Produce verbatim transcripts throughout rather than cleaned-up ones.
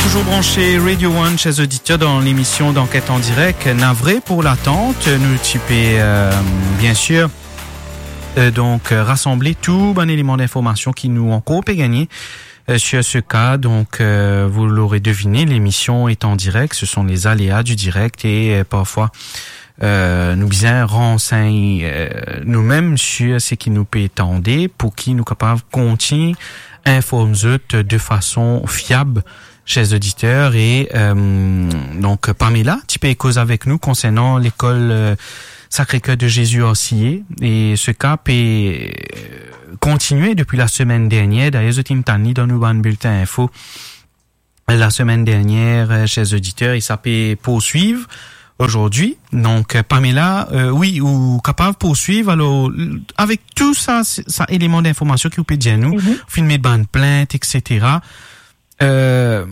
Toujours branché Radio One, chers auditeurs, dans l'émission d'Enquête en direct. Navré pour l'attente. Nou ti pe, euh, bien sûr, euh, donc, euh, rassembler tout bann élément d'information ki nou ankor pe gagné, euh, sur ce cas. Donc, euh, vous l'aurez deviné, l'émission est en direct. Ce sont les aléas du direct et, euh, parfois, euh, nou bizin ransegn, euh, nou mem sur seki nou pe tande, pou ki nou kapav kontign inform zot de fason fiab, chers auditeurs. E, euh, donk, Pamela ti pe koz avek nou konsernan lekol, euh, Sacré-Cœur de Jésus Orcillé, e se ka pe, euh, kontigne depi lasemenn dernier. Dayer, zot inn tann li dan nou bann biltin info lasemenn dernier, euh, chers auditeurs, e sa pe poursuiv azordi. Donk, euh, Pamela, euh, wi, ou kapav poursuiv. Alor, l-, avek tou sa, sa eleman d'information ki ou pe dir nou, Mhm. ou finn met bann plint, et cetera. Euh,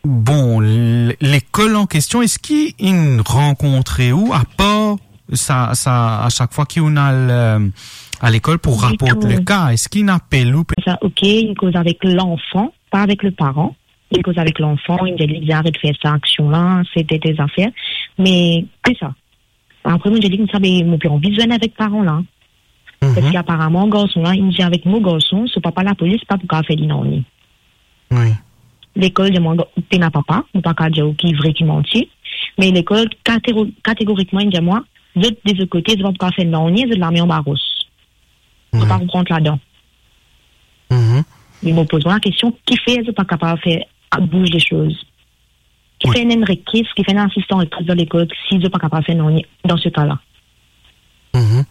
bon, l-, lekol an kestion, eski inn rankontre ou, apar sa, sa, a sak fwa ki ou al, euh, a lekol pou Ditou. Raport le ka, eski inn apel ou pe- Sa, ok, inn koz avek lanfan, pa avek le paran. Inn koz avek lanfan, inn dir li aret fer sa aksion la, se de, de zafer. Me, se sa. Apre, mo dir li koumsa, be, mo pe anvi zwenn avek paran la. Mhm. Parski aparaman, garson la, inn dir avek mo garson, so papa lapolis pa pou kapav fer li nanye. Wi. Lekol dir mwa, pena papa, mo pa kapav dir ou ki vre, ki manti. Me lekol, katero-, kategorikman, inn dir mwa, zot de zot kote, zot pa pou kapav fer nanye, zot lame anba ros. Zot pa pou rant ladan. Mhm. Me mo poz mwa lakestion, kifer zot pa kapav fer, a, bouz le soz? Kifer ena enn rektoris, kifer ena enn asistan rektoris dan lekol, si zot pa kapav fer nanye dan se ka la? Mhm.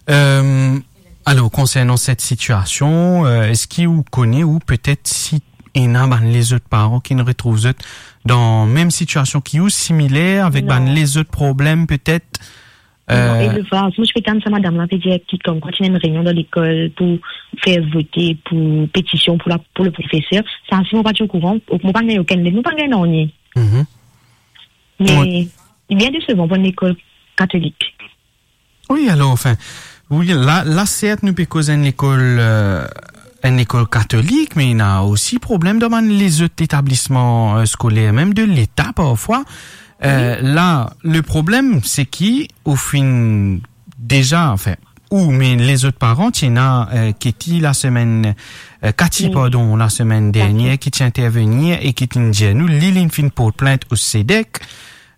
Euh, alor, konsernan set sitiasion, euh, eski ou kone ou petet si ena bann lezot paran ki'nn retrouv zot dan mem sitiasion ki ou, similer, avek Non. bann lezot problem petet? Non, Euh, e le fwa, mo ti pe tann sa madam la pe dir ki, komkwa ti ena enn reynion dan lekol pou fer vote, pou petision pou la, pou le profeser. Sa, si mo pa ti okouran, mo pa gagn okenn let, mo pa gagn nanye. Mhm. Me, Wi. li bien desevan pou enn lekol katolik. Wi, alor, anfin, wi, la, la, sert, nou pe koz enn lekol, euh, enn lekol katolik, me ena osi problem dan bann lezot etablisman, euh, skoler, mem de Leta parfwa. Euh, Wi. La, le problem, se ki ou finn deza, anfin, ou, me lezot paran, ti ena, euh, Katie lasemenn, euh, Katie, Wi. pardon, lasemenn Katie. dernier, ki ti intervenir e ki ti dir nou, li, li finn port plint o SEDEC,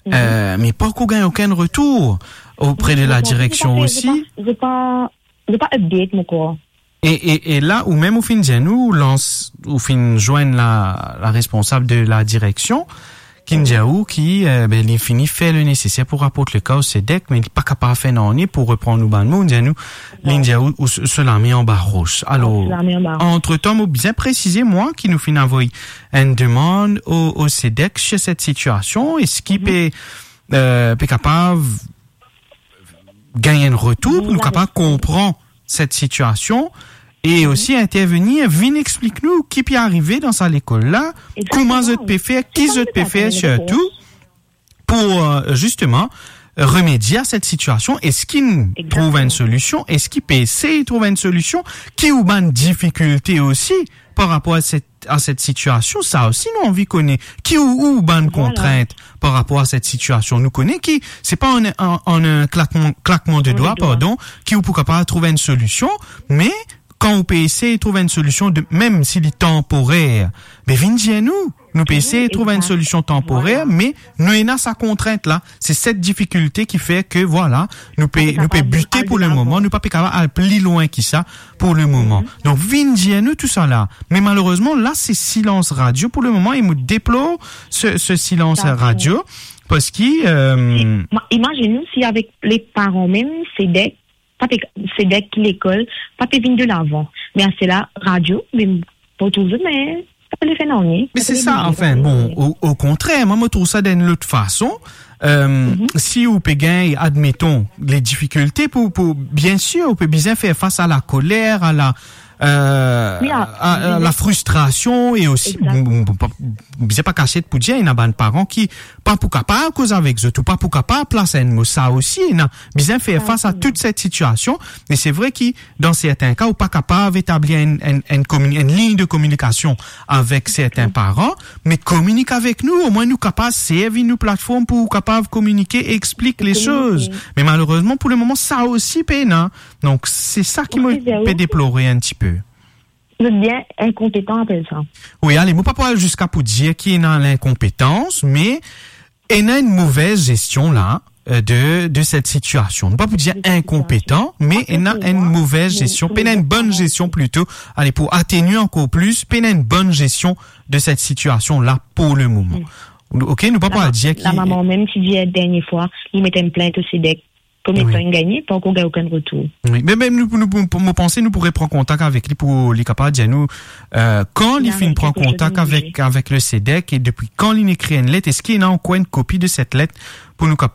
Mhm. euh, me pa ankor gagn okenn retour opre de la direksion osi. Zot pa, zot pa, zot pa update, mo krwar. E, e, e la, ou mem ou finn dir nou, ou lans, ou finn zwenn la, la responsab de la direksion, ki'nn dir ou ki, euh, be, li fini fer le neseser pou raport le ka o SEDEC, me li pa kapav fer nanye, pou repran nou bann mo, dir nou, li dir ou, ou s-, so lame anba ros. Alor, So lame anba ros. antretan, mo bizin presize, mwa, ki nou finn avoy enn demann o, o SEDEC sur set sitiasion, eski Mhm. pe, euh, pe kapav gagn enn retour pou nou Vinn kapav konpran set sitiasion e Mhm. osi intervenir, vinn explik nou ki pe arive dan sa lekol la, Exactement. kouma zot pe fer, ki Kouma zot zot pe pe fer arive, sirtou pou, euh, zisteman, remedie a set sitiasion. Eski nou Exactement. trouv enn solision? Eski pe esey trouv enn solision? Ki ou bann difikilte osi par rapor a set, a set sitiasion? Sa osi nou anvi kone. Ki ou, ou bann Voilà. kontrint par rapor a set sitiasion? Nou kone ki se pa an, an, an enn klakman, klakman de Klakman dwa, de dwa. pardon, ki ou pou kapav trouv enn solision, me kan ou pe esey trouv enn solision de, mem si li tanporer, be vinn dir nou. Nou pe Wi, esey trouv enn egzak. solision tanporer, Voilà. me nou ena sa kontrint la. Se set difikilte ki fer ke, vwala, nou pe, Nou pa pe nou pe kapav bite al pou de le lavan. moman, nou pa pe kapav al pli lwin ki sa pou le moman. Mhm. Donk, vinn dir nou tou sa la. Me malerezman, la, se silans radio pou le moman e mo deplor se, se silans Sa, radio, parski, euh, Si, ma-, imazinn nou si avek le paran mem, SEDEC, pa pe, SEDEC ki lekol, pa pe vinn de lavan. Me aster la, radio, me mo trouv zot, me pa pe fer nanye. Me Pa se pe sa, vinn de anfin, lavan. bon, o, o kontrer, mwa, mo trouv sa dan enn lot fason. Euh, Mhm. si ou pe gagn, admeton, le difikilte pou, pou, bien sir, ou pe bizin fer fas a la koler, a la, euh, Oui, ah, a, a, oui, la oui. Fristrasion e osi, Exact. Bon, bon, pa, bizin pa kasiet pou dir, ena bann paran ki pa pou kapav koz avek zot, ou pa pou kapav plas enn mo, sa osi, ena bizin fer Sa fas a osi, tout non. Set sitiasion, e se vre ki, dan serten ka, ou pa kapav etabli enn, enn, enn komini-, enn lign de kominikasion avek serten Exact. Paran, me kominik avek nou, omwin nou kapav servi nou platform pou kapav kominike e explik Kominike. Lesoz. Me malerezman, pou lemoman, sa osi pena. Donk, se sa ki Wi, mo pe deplore enn tipe. Zot bien inkonpetan apel sa. Wi, ale, mo pa pou al ziska pou dir ki ena linkonpetans, me ena enn move zestion la, euh, de, de set sitiasion. Nou pa pou dir inkonpetan, me ena enn move zestion, pena enn bonn zestion plito. Ale, pou atenir ankor plis, pena enn bonn zestion de set sitiasion la pou lemoman. Mm. Ok, nou pa pou al dir ki... La mama mem ti dir dernie fwa, li met enn plint o SEDEC. Kometan inn gagne, pa ankor gagn okenn retour. Wi, me, me nou, nou, nou, mo panse nou pou repran kontak avek li pou li kapav dir nou, euh, kan li finn pran kontak avek, avek le SEDEC e depi kan li ekrir enn let, eski ena ankor enn kopi de set let pou nou kap-,